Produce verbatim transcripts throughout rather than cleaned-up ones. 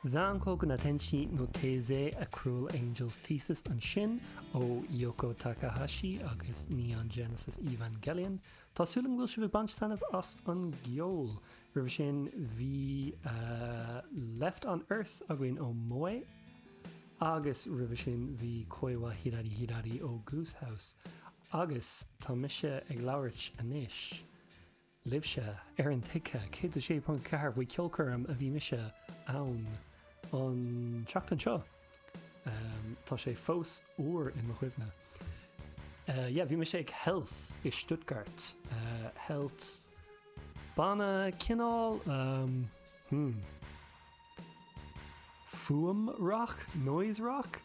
Zankoku na Tenshi no Taizai A Cruel Angel's Thesis ansin ó Yoko Takahashi agus Neon Genesis Evangelion. Tá súil agam go bhfuil sibh ag baint taitneamh as an gceol. Roimhe sin bhí uh, Left on Earth againn ó Moe agus roimhe sin bhí Koi wa Hidari Hidari ó Goose House. Agus tá mise ag labhairt anois. Libhse ar an tuigthe céad a sé ponc ceathair faoi ceolchoirm a bhí mise ann an tseachtain seo. Um, tá sé fós úr i mo chuimhne. Uh, yeah, bhí mise ag Health i Stuttgart. Uh, Health banna cineál um, hmm. fuaim rock, noise rock.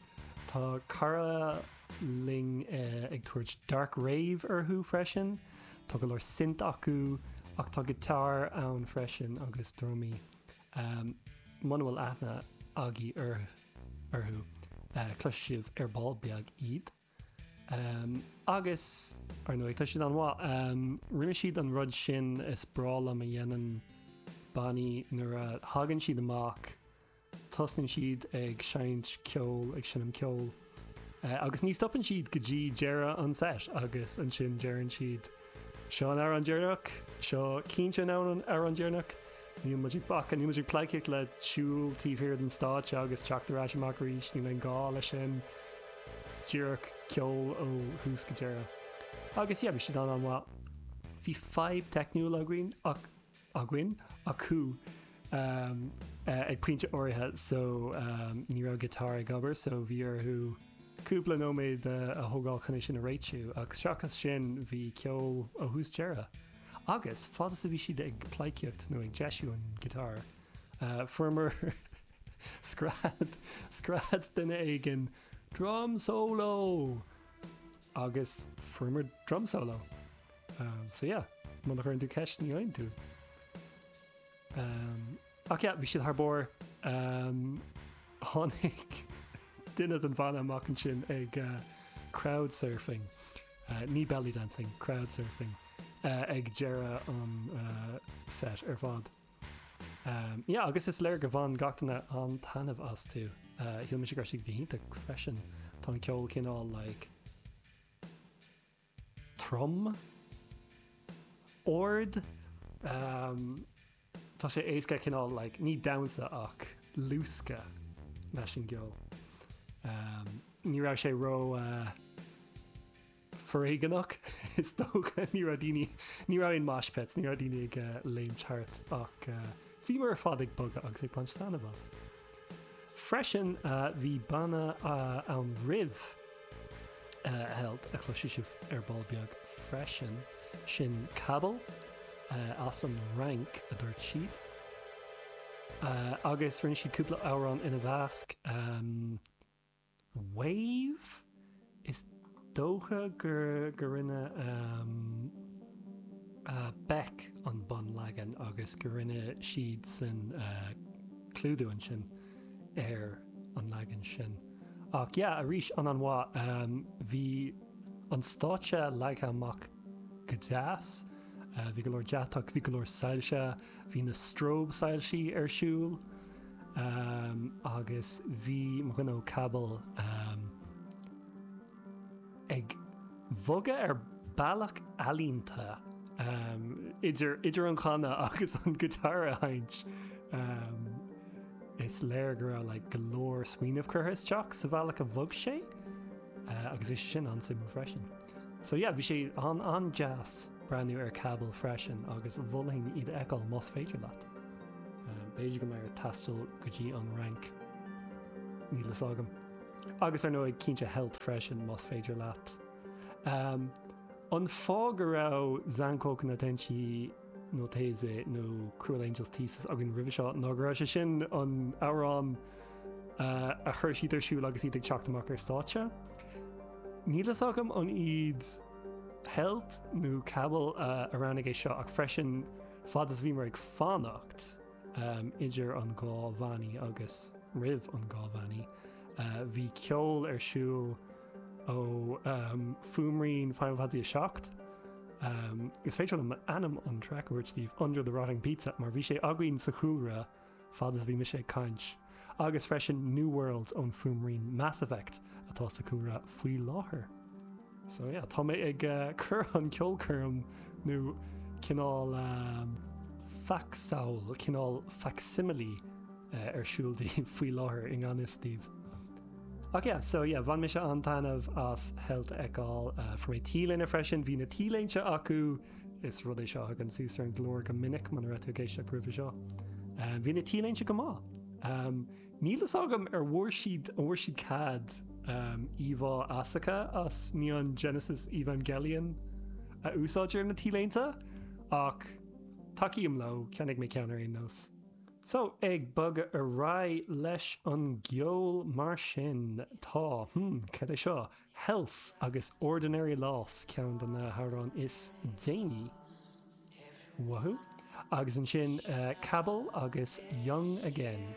Tá cara linn uh, ag tabhairt dark rave orthu freisin. Tá go leor synth acu ach tá guitar ann freisin agus drumaí. Um, Muna bhfuil aithne agaibh ar orthu uh, cloisfidh sibh ar ball beag iad. Um, agus ar ndóigh tá siad an-mhaith um, rinne siad an rud sin is breá liom a dhéanann bannaí nuair a thagann siad amach tosnaíonn siad ag seinnt ceol ag seinm ceol. Uh, agus ní stopann siad go dtí deireadh an set agus ansin deireann siad seo an amhrán deireanach, seo cinnte an amhrán deireanach, Níl muid ag bacadh, níl muid ag pleidhcíocht le siúl taobh thiar den stáitse agus teacht ar ais amach arís níl aon gá leis sin díreach ceol ó thús go deireadh. Agus yeah, bhí siad an an-mhaith. Bhí fadhb teicniúil againn ach againn acu um, uh, ag pointe áirithe so um, ní raibh guitar ag obair so bhí orthu cúpla nóiméad uh, a thógáil chun é sin a réitiú ach seachas sin bhí ceol ó thús deireadh. Agus fad is a bhí siad ag pleidhcíocht nó ag deisiú an guitar. Uh, Fuaireamar scread scread duine éigin drum solo agus fuaireamar drum solo. Um, so yeah, muna gcuireann tú ceist ní fhaigheann tú. Um, ach yeah, bhí siad thar barr um, tháinig duine den bhanna amach ansin ag uh, crowd surfing, uh, ní belly dancing, crowd surfing uh, ag deireadh an uh, set ar fad. Um, yeah, agus is léir gur bhain gach duine an-taitneamh astu. Uh, Shíl mise go raibh siad go hiontach freisin Tá an ceol cineál like, trom ard um, Tá sé éasca cineál like, ní damhsa ach luascadh leis an gceol. Um, ní raibh sé ró uh, foréigeanach is dócha ní raibh daoine ní raibh aon mosh pits, ní raibh daoine ag uh, léimt thart ach uh, bhíomar ar fad ag bogadh agus ag baint taitneamh as. Freisin uh, bhí banna uh, ann roimh uh, Health a chloisfidh sibh ar ball beag freisin sin Kabel uh, as an Fhrainc a dúirt siad. Uh, agus rinne siad cúpla amhrán ina measc um, Wave is dócha gur gur rinne um, uh, Beck an bunleagan agus gur rinne siad san uh, clúdú ansin ar an leagan sin. Ach yeah, arís an an-mhaith um, bhí an stáitse leagtha amach go deas, uh, bhí go leor deatach, bhí go leor soilse, bhí na strobe soilsí ar siúl, um, agus bhí mo dhuine ó Kabel um, ag bhogadh ar bealach ealaíonta um, idir, idir an chanadh agus an guitar a sheinnt. Um, is léir go raibh like, go leor smaoineamh curtha isteach sa bhealach a bhog sé uh, agus bhí sé sin an-suimiúil freisin. So yeah, bhí sé an an-deas breathnú ar Kabel freisin agus mholfainn iad a fheiceáil más féidir leat. Uh, B'fhéidir go mbeidh ort taisteal go dtí an Fhrainc níl a fhios agam. Agus ar ndóigh cinnte Health freisin más féidir leat. Um, an fáth go raibh Zankoku na Tenshi no Taizai nó Cruel Angel's Thesis againn roimhe seo ná go raibh sé sin an amhrán uh, a chuir siad ar siúl agus iad ag teacht amach ar stáitse. Níl a fhios agam an iad Health nó Kabel uh, a roghnaigh é seo ach freisin fad is bhíomar ag fanacht um, idir an dhá bhanna agus roimh an dhá bhanna. Uh, bhí ceol ar siúl ó um, fuaimrian Final Fantasy a seacht. Um, is féidir liom ainm an track a thabhairt daoibh Under the Rotting Pizza mar bhí sé againn sa chúlra fad is bhí mise ag caint. Agus freisin New World ón fuaimrian Mass Effect atá sa chúlra faoi láthair. So yeah, tá mé ag uh, cur an ceolchoirm nó cineál um, facsamhail cineál facsimile uh, ar siúl faoi láthair i ngan fhios daoibh. Ach yeah, so yeah, bhain mise an-taitneamh as Health a fheiceáil uh, fuair mé T-léine freisin, bhí na T-léinte acu is rud é seo an suas ar an glór go minic man ra géisteach roimhe seo. Um, bhí na T-léinte go maith. Um, Níl fhios agam ar bhfuair siad an bhfuair siad cead um, íomhá Asuka as Neon Genesis Evangelion a úsáid ar na T-léinte ach tacaím leo cheannaigh mé ceann ar aon nós. So ag bogadh ar aghaidh leis an gceol mar sin tá hmm, cad é seo Health agus Ordinary Loss ceann de na hamhráin is déanaí. Wahoo? Agus ansin uh, Cabal agus Young Again.